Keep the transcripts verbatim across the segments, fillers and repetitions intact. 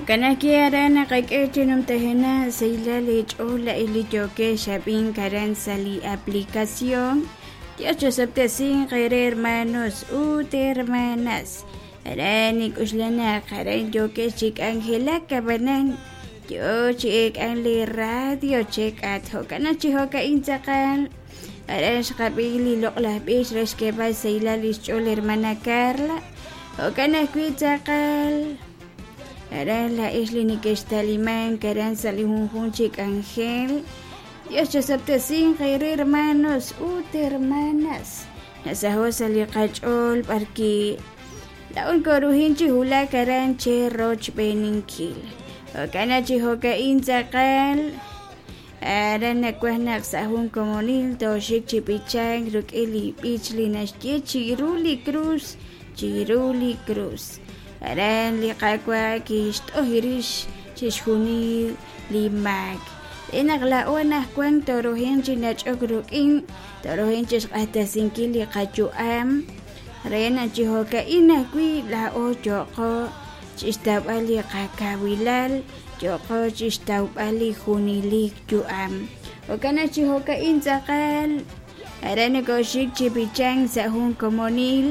Jo'kan ajwi' aran naqak'e chi numtajenaq sahilal eech'ool la'ix li yookex ab'ink aran sa' li aplicación. Dios chosob'tesinq eere hermanos ut hermanas. Aran nik'uxla naq aran yookex chi k'anjelak ab'anan yo chi eek'an li radio chek'at jo'kan chi jo'ka'in tz'aqal aran xqab'i li loq'laj b'ix re xk'eeb'al sahilal lix ch'ool hermana Carla jo'kan ajwi' tz'aqal aran la'ix li nekextalimank aran sa' li junjunq chi k'anjel. Dios chosob'tesinq eere hermanos ut hermanas. Nasaho' sa' li qach'ool b'arki la'un koruhin chi wulak aran che rochb'eeninkil. Jo'kan chi jo'ka'in tz'aqal aran nawaj naq sa' jun komonil tooxik chi b'ichank rik'in li b'ich li naxye chiru li cruz, chiru li cruz. Aran li Qaawa' kixt'oj rix chixjunil li maak. Re naq la'o anaqwan toruhin chi nach'ok rik'in, toruhin chi xq'axtesinkil li qayu'am re naq chi jo'ka'in ajwi' la'o yo'qo chixtawb'al li qakawilal, yo'qo chixtawb'al li junelik yu'am. Jo'kan naq chi jo'ka'in tz'aqal aran nokoxik chi b'ichank sa' jun komonil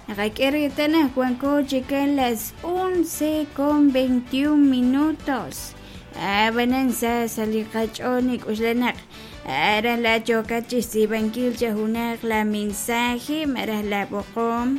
naqak'e reetal naq wanko chikan las once con veintiún minutos. Ab'anan sa sa' li qach'ool nik'uxla naq aran la yookat chixtz'iib'ankil cha junaq la mensaje malaj la b'oqom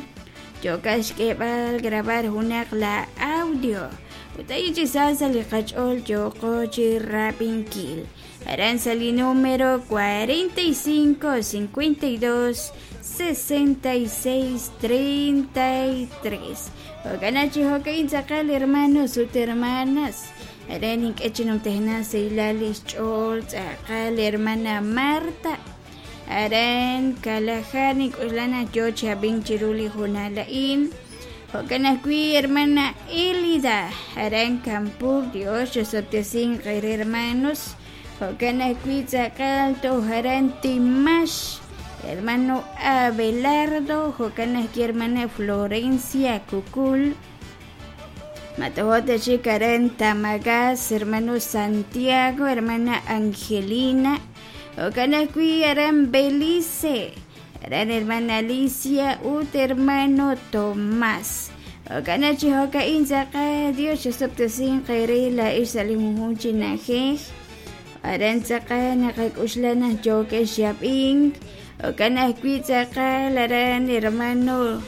yookat xk'eeb'al grabar junaq la audio ut ahí chi sa sa' li qach'ool yooqo chi rab'inkil. Aran sa' li número cuarenta y cinco, cincuenta y dos, sesenta y seis, treinta y tres. Jo'kan chi jo'ka'in tz'aqal hermanos ut hermanas. Aran ink'e chi numtajenaq sahilal lix ch'ool tz'aqal hermana Marta. Aran Kalajá nik'uxla naq yoo chi ab'ink chiru li junal a'in. Jo'kan ajwi' hermana Elida. Aran Campur, Dios chosob'tesinq eere hermanos. Jo'kan ajwi' tz'aqal toj aran Timax, hermano Abelardo. Jo'kan ajwi' hermana Florencia Cucul. Matojote chik aran Tamagas, hermano Santiago, hermana Angelina. Jo'kan ajwi' aran Belice, aran hermana Alicia ut hermano Tomás. Jo'kan chi jo'ka'in tz'aqal Dios chosob'tesinq eere la'ix sa' li junjunq chi na'ajej. Aran tz'aqal naqak'uxla naq yookex yab'ink. Jo'kan ajwi' tz'aqal aran hermano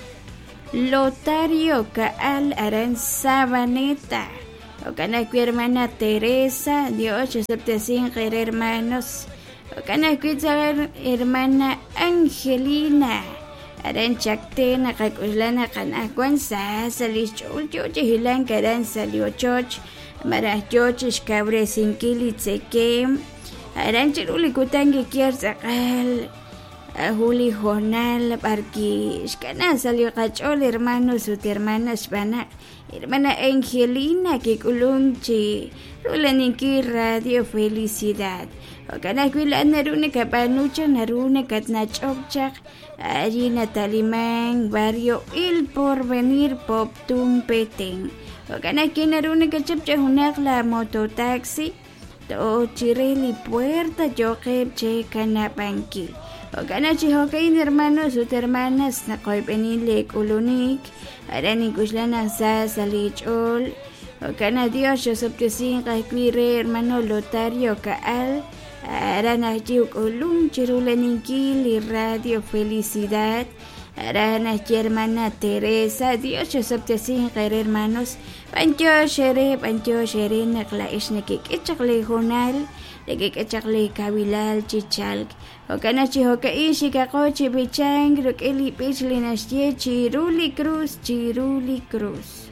Lotario Kaal aran Sabaneta. Jo'kan ajwi' hermana Teresa, Dios chosob'tesinq eere hermanos. Jo'kan ajwi' tz'aqal hermana Angelina. Aran Chacté naqak'uxla naq anaqwan sa sa' li xch'ool yoo chi hilank aran sa' li ochoch malaj yoo chi xkawresinkil li tzekem. Aran chiru li kutan kikier tz'aqal jun li jornal b'arki xkana sa' li qach'ool hermanos ut hermanas xb'aan naq hermana Angelina kik'ulunk chi rulaninkil Radio Felicidad. Jo'kan ajwi' la'an naru nakab'aanu chaq naru nakatnach'ok chaq allí nataliman barrio El Porvenir Poptún Petén. Jo'kan ajwi' naru nakachap cha junaq la mototaxi toj chire li puerta yo'qeb' che kanab'ankil. Jo'kan chi jo'ka'in hermanos ut hermanas naqoyb'enin li k'ulunik aran ink'uxla naq sa sa' li ch'ool. Jo'kan Dios chosob'tesinq ajwi' re hermano Lotario Kaal aran ajwi' uk'ulum chirulaninkil li Radio Felicidad. Aran ajwi' hermana Teresa, Dios chosob'tesinq eere hermanos. B'antiox ere, b'antiox ere naq la'ix nakik'e chaq li junal, nakik'e chaq li kawilal chi chalk. Jo'kan chi jo'ka'in xikaqo chi b'ichank rik'in li b'ich li naxye chiru li cruz, chiru li cruz.